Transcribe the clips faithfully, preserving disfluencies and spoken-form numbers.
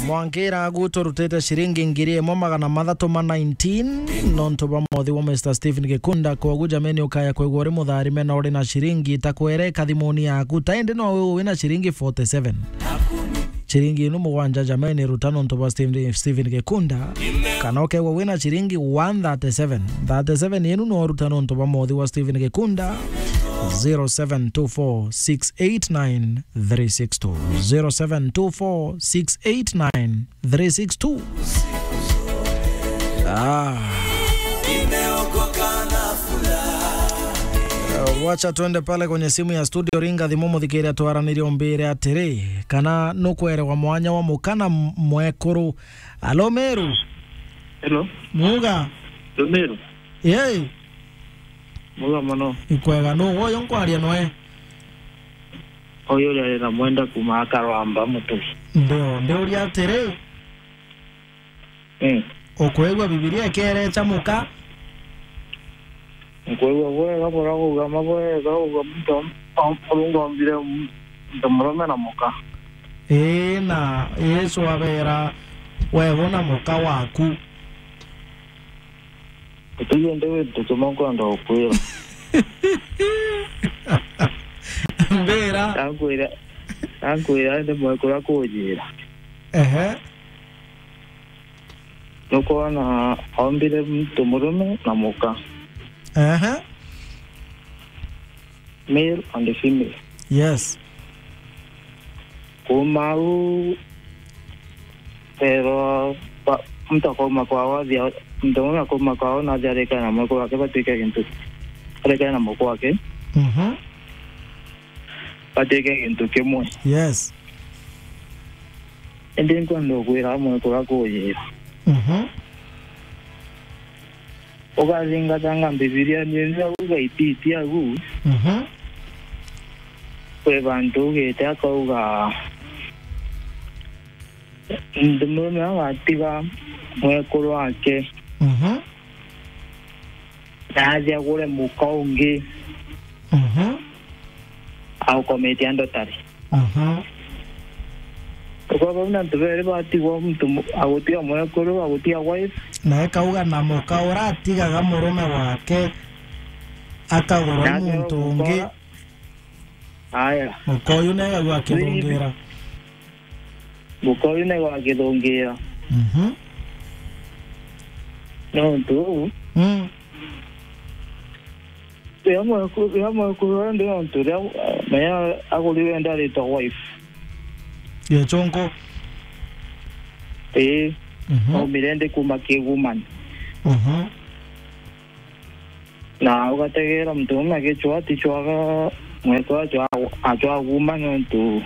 Mwankira agu turutite ciringi ngiri imwe magana mathatu ma nineteen, nontu bwa mothi wa Mister Stephen Gikunda. Kogu jameni, ukaya kwigua uri mutharime na uri na ciringi, ta kwere kathimuni yaku, ta indi no we wina ciringi forty-seven. Ciringi inu mugwanja jameni, ruta nontu bwa Stephen, Stephen Gikunda. Kana ukegwa wina ciringi one thirty-seven. Thirty-seven inu no ruta nontu bwa mothi wa Stephen Gikunda. Zero seven two four six eight nine three six two. Zero seven two four six eight nine three six two. Ah. Eh, wacha tuende pale kwenye simu ya studio, ringa thimu muthikiria twaranirie umbire atiri, kana nukwerewa mwanya wa mukana m-, mwekuru. Alo, Meru? Hello. Muga? Hello, Meru. Yei. Muga mono. Ikwega, nu woyo nkwaria noe? Uyu uria ari na mwenda kuma akarwamba mutu. Ndio, ndio uria atiri. Mm. Ukwigua Bibilia ikerecha muka? Nkwigua bwega, bura kuuga ma bwega, uga muntu om-, om-, Murungu ombire m-, muntu murume na muka. Ii, na Yesu abera, wewe na muka waku. Utige ndi wi ntu kimwe nkwenda gukwira. Mbira. Ankwira, ankwira ndi mwekuru akujira. Ehe. Nukwona ombire muntu murume na muka. Ehe. Male and female. Yes. Kuuma au, erwa ba-, muntu akauma kwao athia, muntu umwe akauma kwao na athia arikana na mwekuru wake, batuike gintu, arikana na mwekuru wake. Mhm. Batuike gintu kimwe. Yes. Indi nkwenda gukwira amwe kuria kujira. Mhm. Ukathingatanga Mbibilia ni ria uga ititi agu. Mhm. Kwi bantu ugite akauga, muntu murume agatiga mwekuru wake. Mhm. Na athi agure muka ungi. Mhm. Aukometie andotari. Mhm. Kwa bau na antu beri batigwa muntu mu-, agutiga mwekuru, agutiga wife. Na ekauga na muka uratigaga murume wake akagura na muntu ungi. Aya. Muka uyu nawe agua akithungira. Muka uyu nawe agithungira. Mhm. Nontu uu, mm, riria mweku-, riria mwekuru uria ndi nontu riria, eh, menya aguri wenda aritwa wife. Gichunku. Ii. Mhm. Aumire ndi kuma Kigumani. Mhm. Na ugategeera muntu uria agicwaa, aticwaga mwekuru acwaa, acwaa kuuma nontu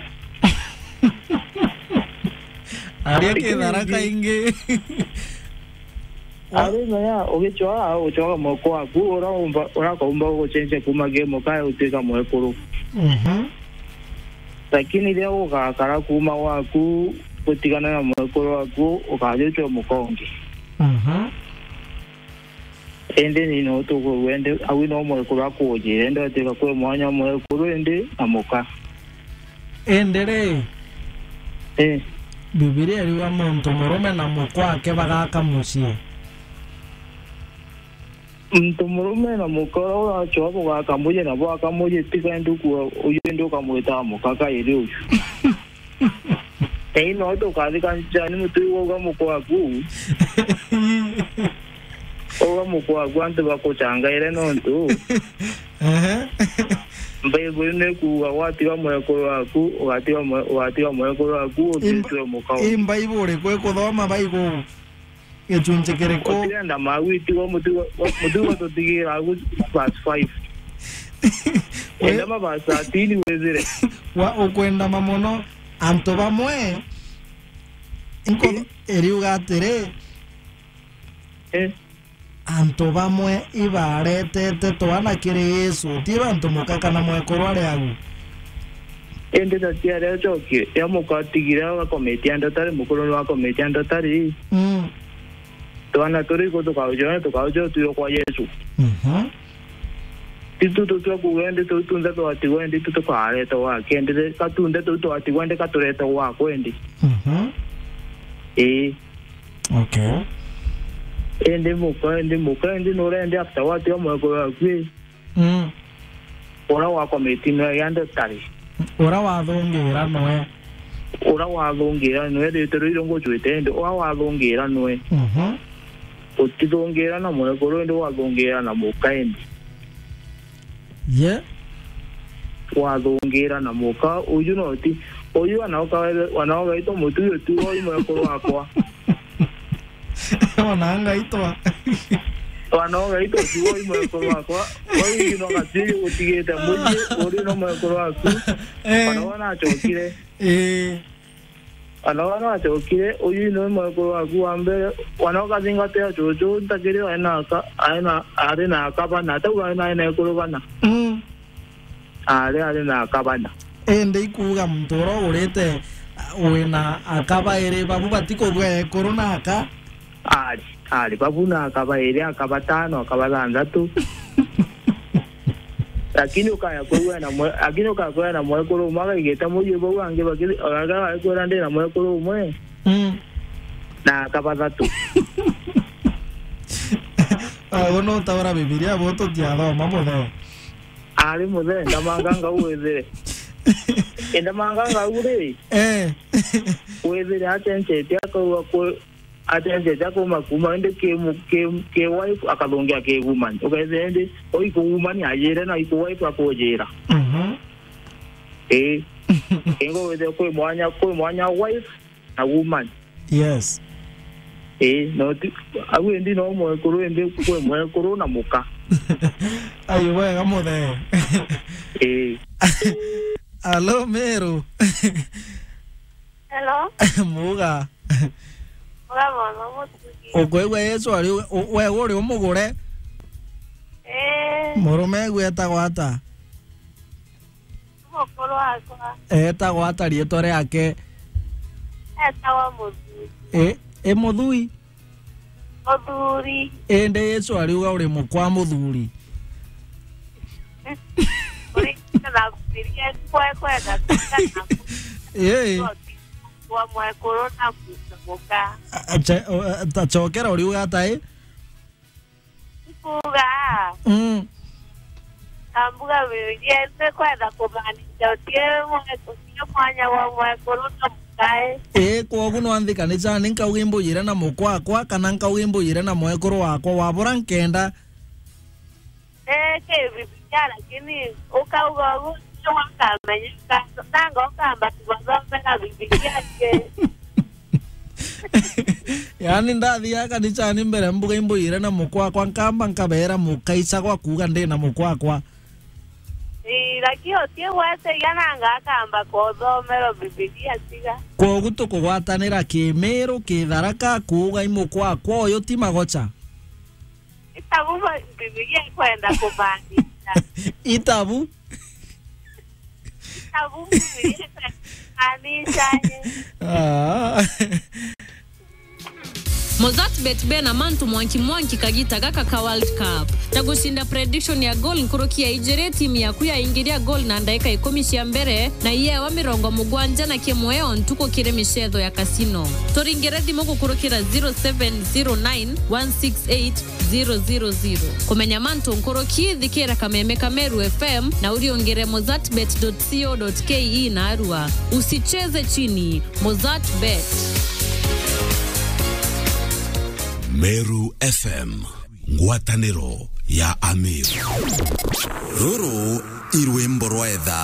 aria kithara kaingi. Ari menya ugicwaa, ucwaga mwekuru waku, ura umba, ura kaumba gucenjia kuuma ki muka utuika mwekuru. Mhm. Lakini riria ugakara kuuma gwaku, gutigana na mwekuru waku, ukaja ucwe muka ungi. Mhm. Indi ni no tukwigua indi, au no mwekuru akujire, indi atiga kwi mwanya mwekuru indi na muka. Indi ri, eh, Bibilia iriuga muntu murume na mukwa wake bagaka mucii. Muntu murume na muka uria uracua bugaka mucii na bwaka mucii, tiga indi ukua uyu indi ukamwita muka kairi uyu. Ei, no tukathika njani mutu iu uga mukwaku. Uga mukwaku antu bakuchangaire nontu. Ehe. Bible ni kuuga gwatiga mwekuru waku, ugatiga mwe-, ugatiga mwekuru waku, utitwe mukau. I Bible iriku ikuthoma Bible? Gicunji kiriku? Utirenda magwitigwa mutugo, mutugo tutigira agu verse five. Enda ma verse thirteen wizire. Wa ukwenda ma mono, antu bamwe, inko-, eh, iriuga atiri, eh, antu bamwe ibaretete twana kiri Yesu, ti bantu muka kana mwekuru ari agu. Indi tatiari acokie, ya muka atigire agakometia ndatari, mukuru niwe akometia ndatari. Mm. Twana turi ku tukauja, tukauja utwire kwa Yesu. Mhm. Itu tutwe kuuga indi tuu tunthe twatigwa indi itu tukareta gwake, indi katunde tuu twatigwa indi katurete gwakwe indi. Mhm. Ii. Okay. Indi muka, indi muka, indi nurendi after what ya mwekuru waku ii? Mm. Ura wakomiti nwe ya ndotari. Ura wathungira nwe. Ura wathungira nwe, ritiro iro ngucwite indi ura wathungira nwe. Mhm. Utithungira na mwekuru indi wathungira na muka indi. Ye. Wathungira na muka, uju no ti, uju anaoka, anaogaitwa mutuyo tu, oi mwekuru wakwa. Ona ngaitwa. Anaogaitwa tu, oi mwekuru wakwa. Oi no gatuyo utigite muji, uri no mwekuru waku. Eh. Ona wana achokire. Eh. Ana wana acokire, uyu ni mwekuru waku wa mbere. Wana ukathingatia cucu, ntakiri aina aka, aina, ari na aka bana, atau aina, aina ekuru bana. Mm. Ari, ari na aka bana. Indi ikuuga muntu uria ugurite, uh, wina aka bairi, babu batikugua ekuru na aka? Ari, ari, babu na aka bairi, aka batano, aka bathanthatu. Lakini ukaya kwigua na mwe-, lakini ukaya kwigua na mwekuru umwe akaigite muji bau angi baki-, agakwira ndi na mwekuru umwe. Mm. Na aka bathatu. Ah, uno utaura Bibilia bo tutiathoma muthe. Ari muthe, ndamanga ngau withire. Indamanga ngau ri? Eh. Withire acenjetie akauga ku-, acenjetie akauma kuma indi ki mu-, ki, ki wife akathungia ki woman. Ukethira indi, o iku woman ajire na iku wife akujira. Mhm. Ii. Ingo withire kwi mwanya, kwi mwanya wife na woman. Yes. Ii, no ti, au indi no mwekuru, indi kwi mwekuru na muka. Ayo, wega muthe. Ii. Alo, Meru. Hello. Muga. Muga mama mutugi. Ukwigua Yesu ari u-, u-, we uri umugure? Ee. Murume gwetagwa ata? Mukuru wakwa. Etagwa ata riitwa riake? Etagwa Muthuri. I, i Muthui? Muthuri. Indi Yesu ariuga uri mukwa muthuri. Uri na kufikiria kwa kwenda kuka na Ii. Kwa mwekuru na muka. Ache-, o-, ta chokera uriuga ata i? Kuuga. Mm. Ambuga Bibilia ise kwenda kumaanisha utie mwe-, utie mwanya wa mwekuru na mukae. Ii, kwogu no nthi kanicani nkauga imbujire na mukwakwa, kana nkauga imbujire na mwekuru wakwa, wabura nkenda. Ee, ki Bibilia, lakini ukauga ugu, nio wakamenya, nanga ukamba kubathomera Bibilia ki. Yaani, ndathiaga kanicani mbere, mbuga imbujire na mukwakwa, nkamba nkabeera mukaicagwa kuuga ndi na mukwakwa. Ii, lakini uti gwete iga nanga akamba kuthomerwa Bibilia tiga. Kwogu tukugwatanira kimiru, kitharaka, kuuga i mukwakwa uyu ti magocha. Itabu ba-, Bibilia ikwenda kumaanisha. Itabu? Itabu Bibilia ikwenda kumaanisha, eh. Ah. Mozart Bet bena mantu mwanki mwanki kagita gaka ka World Cup. Ta gucinda prediction ya goal nkuruki ya ijiri, timu yaku yaingiria goal na ndaika ikumi cia mbere, na iyewa mirongo mugwanja na kimwe o ntuku kiri micetho ya casino. Turingire thimu gukurukira zero seven zero nine one six eight zero zero zero. Kumenya mantu nkuruki, thikira kameme ka Meru F M na uriungire mozartbet dot co dot K E na arua. Usicheze chini, Mozart Bet. Meru F M, ngwataniro ya Ameru. Ruru i rwimbo rwa etha.